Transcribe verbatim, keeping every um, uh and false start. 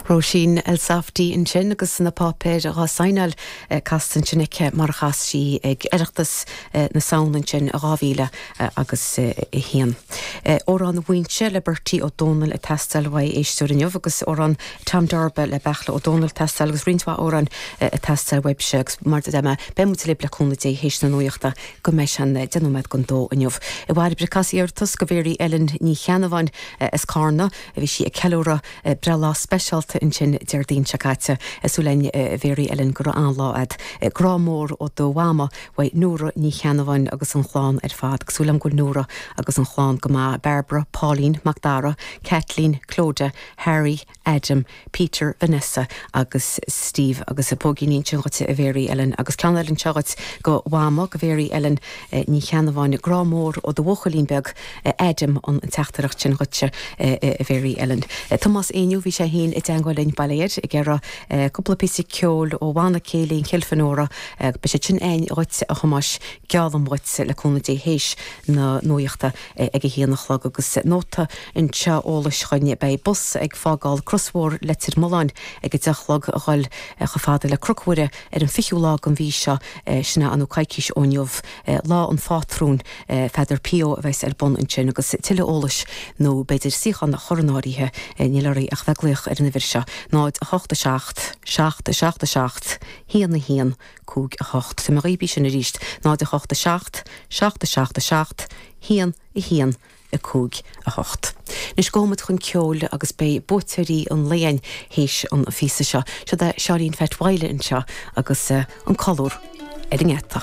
Róisín Elsafty ansin agus na páipéir dhá seinneáil casta ansin aici mar a chas sí ag Oireachtas na Samhna ansin dhá mhíle agus a haon. Amhrán Mhaínse le Bertie Ó Dónaill ag teastáil uaidh éisteoir inniu agus amhrán Tom Darba le Beartla Ó Dónaill ag teastáil agus roinnt mhaith amhrán ag teastáil uaibhse agus mar a deir mé beidh muid libh le cúnamh Dé théis na nuachta go mbeidh sé an deich nóiméad don dó inniu. I bhfad ag iarratas go Mary Ellen Ní Cheannabháin as Carna a bhí sí ag ceiliúradh breithlá speisialta ansin Déardaoin seo caite súil againn Mary Ellen go raibh an-lá agat. Grá mór ó do mhama uaidh Nóra Ní Cheannabháin agus an chlann ar fad, súil agam go bhfuil Nóra agus an chlann go maith Barbara, Pauline, Macdara, Kathleen, Clodagh, Harry, Adam, Peter, Vanessa agus Steve agus a póigín sin dhuit a Mary Ellen agus ceann eile anseo dhuit go mhama go Mary Ellen Ní Cheannabháin grá mór ó do bhuachaillín beag Adam an teachtaireacht sin dhuit a Mary Ellen. Tomás Éinniú bhí sé féin i dteagmháil linn bail air ag iarraidh cúpla píosa ceoil ó bhanna céilí Chill Fionóra beidh sé sin againn dhuit a Thomáis geallaim dhuit le cúnamh Dé théis na nuachta ag a haon a chlog agus nóta anseo eolais chugainn beidh bus ag fágáil Crosmhór Leitir Mealláin ag a deich a chlog a dhul chomh fada le Cnoc Mhuire ar an fichiú lá den mhí seo sin nó coicís ó inniu lá an phátrúin Pheadar Pio a bheas ar bun ansin agus tuilleadh eolais nó b'fhéidir suíochán a chur in áirithe níl oraibh ach bheith ag glaoch ar an uimhir seo náid a hocht a seacht, seacht a seacht a seacht, haon a haon, cúig a hocht. Tá mé dhaoibh sin arís náid a hocht a seacht, seacht a seacht a seacht, haon a haon, a cúig a hocht. Anois gabhfaidh muid chun ceoil agus beidh buaiteoirí an lae againn théis an phíosa seo. Seo é Seáinín Pheait Mhaidhle anseo agus an colúr ar an ngeata.